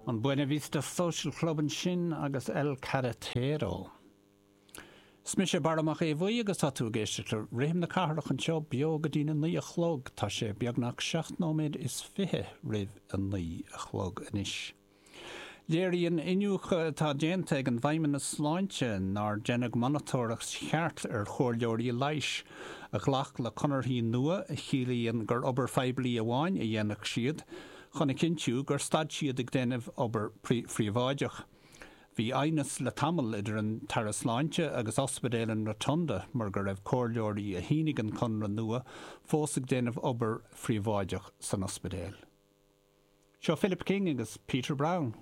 An Buena Vista Social Club ansin agus El Carretero. Is mise Barra Mac Aodha Bhuí agus tá tú ag éisteacht le Rithim na Cathrach anseo beo go dtína naoi a chlog. Tá sé beagnach 7 nóiméad is 20 roimh a naoi a chlog anois. Léiríonn iniúchadh atá déanta ag an bhFeidhmeannas Sláinte nár deineadh monatóireacht cheart ar chomhairleoirí leighis a ghlac le conarthaí nua a chiallaíonn gur obair phoiblí amháin a dhéanfadh siad chun a chinntiú gur stad siad ag déanamh obair phríobháideach. Bhí aighneas le tamall idir an tAire Sláinte agus Ospidéal an Rotunda mar go raibh comhairleoirí a shínigh an conradh nua fós ag déanamh obair phríobháideach san ospidéal. Seo Philip King agus Peter Brown.